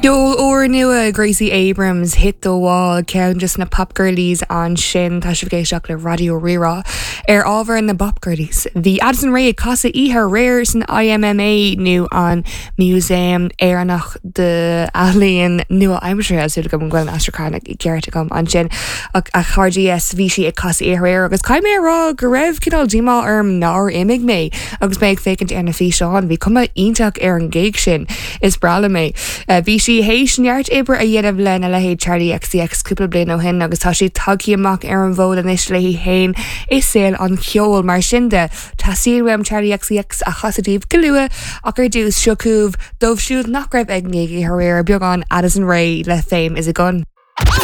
Ceol úrnua Gracie Abrams, Hit the Wall, ceann de na Pop Girlies ansin. Tá sibh ag éisteacht le Raidió Rí-Rá. Ar ábhar na bPop Girlies, bhí Addison Rae ag casadh oíche aréir san IMMA nó an Músaem Éireannach d'Ealaín Nua-Aimseartha, súil agam go bhfuil an aistriúchán ceart agam ansin. Ach a chairde, yes, bhí sí ag casadh oíche aréir agus caithfidh mé a rá go raibh cineál díomá orm nár imigh mé agus mé ag féachaint ar na físeáin. Bhí cuma iontach ar an gig sin. Is breá liom é. Bhí sí théis neart oibre a dhéanamh lena leithéid Charli XCX cúpla bliain ó shin agus tá sí tagtha amach ar an bhfód anois léi féin i saol an cheoil. Mar sin de, teastaíonn uaim Charli XCX a chasadh daoibh go luath ach ar dtús, seo chugaibh, dóibh siúd nach raibh ag an ngig aréir, beagán Addison Rae le Fame is a Gun.